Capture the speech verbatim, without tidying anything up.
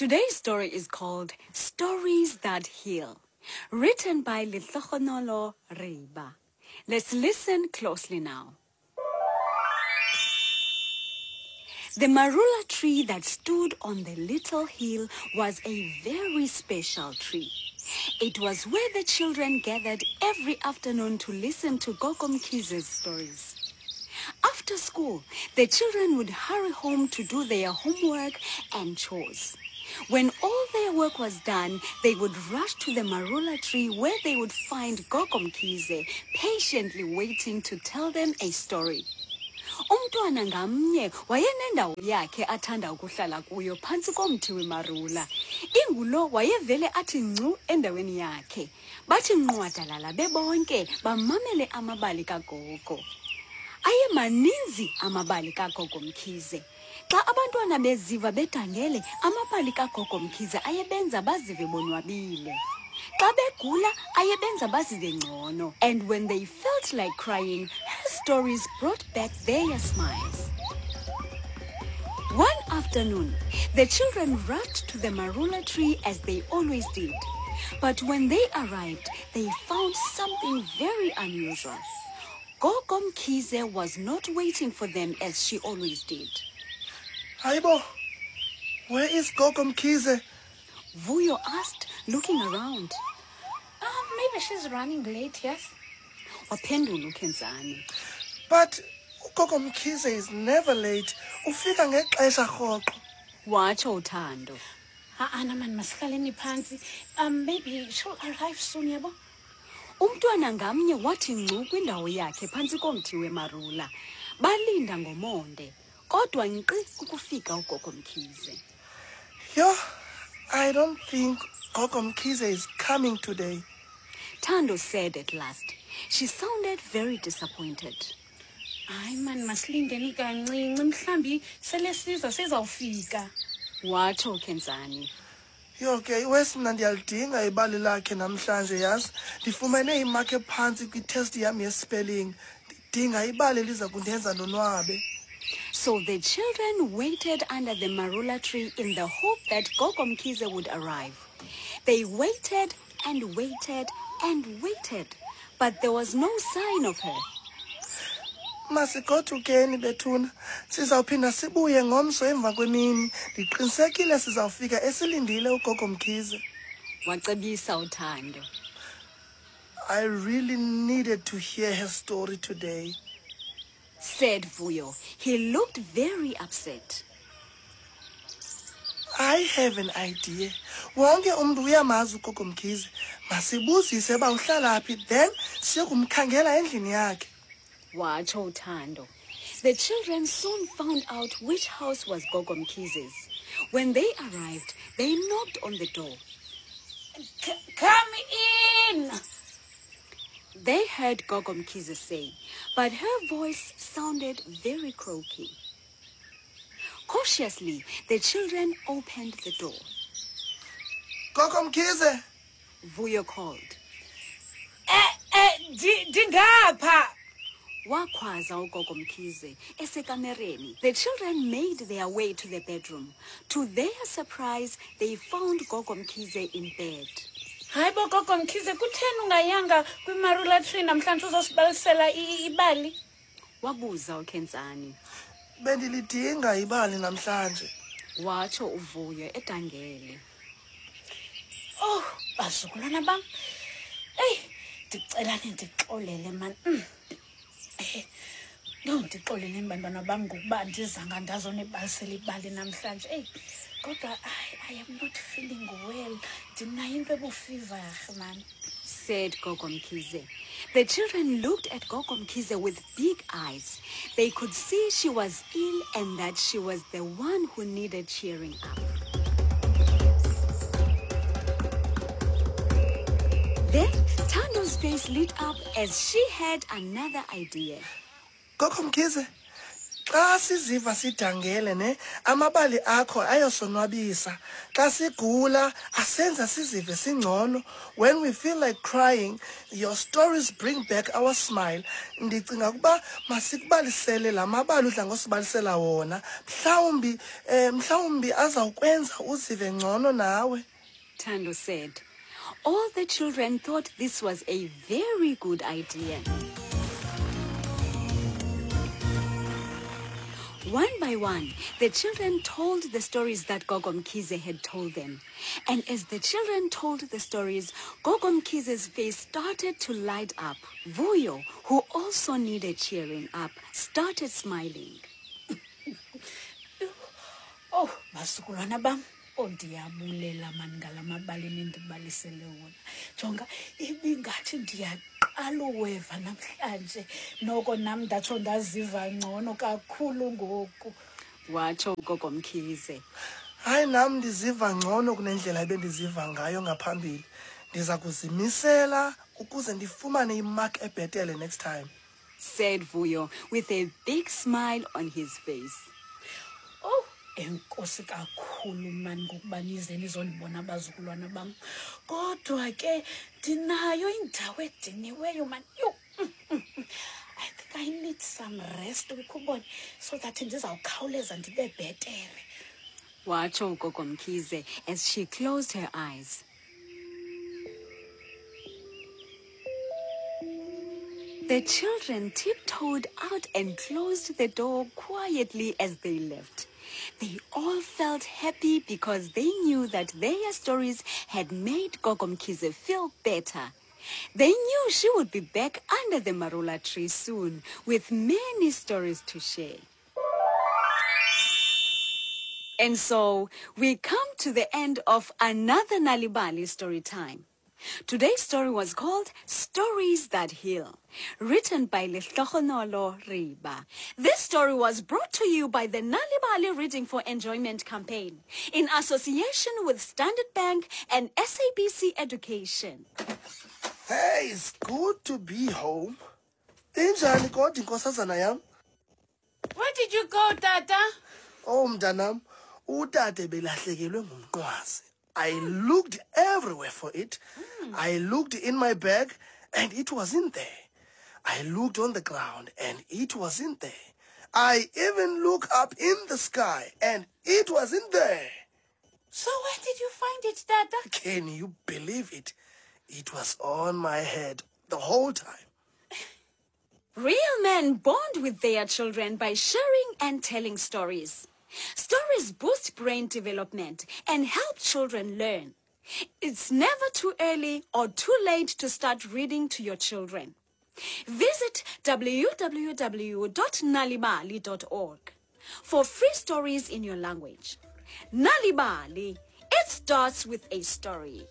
Today's story is called Stories That Heal, written by Lehlohonolo Riba. Let's listen closely now. The marula tree that stood on the little hill was a very special tree. It was where the children gathered every afternoon to listen to Gogo Mkhize's stories. After school, the children would hurry home to do their homework and chores. When all their work was done, they would rush to the marula tree where they would find Gogo Mkhize patiently waiting to tell them a story. Umntwana ngamnye wayenendawo yakhe athanda ukuhlala kuyo phantsi komthi wemarula. Ingulo wayevele athi ngcu endaweni yakhe. Bathi nqwadalala bebonke bamamele amabali kagogo. Ayemaninzi amabali kaGogo Mkhize. Xa abantwana beziva bedangele, amabali kaGogo Mkhize ayebenza bazive bonwabile. Xa begula, ayebenza bazive ngcono. And when they felt like crying, her stories brought back their smiles. One afternoon, the children rushed to the marula tree as they always did. But when they arrived, they found something very unusual. Gogo Mkhize was not waiting for them as she always did. Hayibo, where is Gogo Mkhize? Vuyo asked, looking around. Um, maybe she's running late, yes? Waphendula uKhensani. But uGogo Mkhize is never late. Ufika ngexesha rhoqo. Watsho uThando. Ha-ana man, masihlaleni phantsi. Um, maybe she'll arrive soon, yabo? Umntwana ngamnye wathi ngcu kwindawo yakhe phantsi komthi wemarula. Balinda ngomonde, kodwa nkqi ukufika uGogo Mkhize. Yho, I don't think Gogo Mkhize is coming today. Thando said at last. She sounded very disappointed. Hayi man, masilindeni kancinci. Mhlambi sele siza sizawufika. Watsho uKhensani. Yho ke, iwesi mna ndiyalidinga ibali lakhe namhlanje, yazi. Ndifumene imark ephantsi kwitest yam yespelling. Ndidinga ibali eliza kundenza ndonwabe. So the children waited under the marula tree in the hope that Gogo Mkhize would arrive. They waited and waited and waited, but there was no sign of her. Masigodukeni bethuna. Sizawuphinda sibuye ngomso emva kwemini. Ndiqinisekile sizawufika esilindile uGogo Mkhize. Wacebisa uThando. I really needed to hear her story today. Said Vuyo. He looked very upset. I have an idea. Wonke umntu uyamazi uGogo Mkhize. Masibuzise uba uhlala phi, then siyokumkhangela endlini yakhe. Watsho uThando. The children soon found out which house was Gogo Mkhize's. When they arrived, they knocked on the door. C- come in! They heard Gogo Mkhize say, but her voice sounded very croaky. Cautiously, the children opened the door. Gogo Mkhize! Vuyo called. Eh, eh, ndi- ndingapha. Wakhwaza uGogo Mkhize esekamereni. The children made their way to the bedroom. To their surprise, they found Gogo Mkhize in bed. Hayibo Gogo Mkhize, kutheni ungayanga kwimarula tree namhlanje uzosibalisela i- ibali? Wabuza uKhensani. Bendilidinga ibali namhlanje. Watsho uVuyo edangele. Oh, bazukulwana bam. Eyi, ndicela nindixolele man. Mm. Eh, no, ndixoleleni bantwana bam ngokuba andizanga ndazonibalisela ibali namhlanje. Eyi, kodwa I, I am not feeling well. Ndinayo into ebufiva man. Said Gogo Mkhize. The children looked at Gogo Mkhize with big eyes. They could see she was ill and that she was the one who needed cheering up. Then Thando's face lit up as she had another idea. Gogo Mkhize, Xa siziva sidangele ne, amabali akho ayosonwabisa. Xa sigula, asenza sizive singcono. When we feel like crying, your stories bring back our smile. Ndicinga ukuba masikubalisele la mabali udla ngosibalisela wona. Mhlawumbi, eh, mhlawumbi azawukwenza uzive ngcono nawe. Thando said. All the children thought this was a very good idea. One by one, the children told the stories that Gogo Mkhize had told them. And as the children told the stories, Gogo Mkhize's face started to light up. Vuyo, who also needed cheering up, started smiling. Oh, bazukulwana bam. Oh, ndiyabulela mani ngala mabali nindibalisele wona. Jonga, ibingathi ndiyaqala uweva namhlanje. Noko nam ndatsho ndaziva ngcono kakhulu ngoku. Watsho uGogo Mkhize. Hayi, nam ndiziva ngcono kunendlela ebendiziva ngayo ngaphambili. Ndiza kuzimisela ukuze ndifumane imark ebhetele next time, said Vuyo with a big smile on his face. Oh, enkosi kakhulu mani ngokuba nize nizondibona abazukulwana bam. Kodwa ke ndinayo indawo ediniweyo mani. Yho, mm, mm, mm. I think I need some rest ukubona so that ndizawukhawuleza ndibe bhetere. Watsho uGogo Mkhize as she closed her eyes. The children tiptoed out and closed the door quietly as they left. They all felt happy because they knew that their stories had made Gogo Mkhize feel better. They knew she would be back under the marula tree soon with many stories to share. And so we come to the end of another Nal'ibali story time. Today's story was called Stories That Heal, written by Lehlohonolo Riba. This story was brought to you by the Nal'ibali Reading for Enjoyment campaign in association with Standard Bank and S A B C Education. Hey, it's good to be home. Injani kodwa inkosazana yam? Where did you go, Tata? Oh, mntanam, utata belahlekelwe ngumnqwazi. I looked everywhere for it. Mm. I looked in my bag and it wasn't there. I looked on the ground and it wasn't there. I even looked up in the sky and it wasn't there. So where did you find it, Tata? Can you believe it? It was on my head the whole time. Real men bond with their children by sharing and telling stories. Stories boost brain development and help children learn. It's never too early or too late to start reading to your children. Visit w w w dot nalibali dot org for free stories in your language. Nal'ibali, it starts with a story.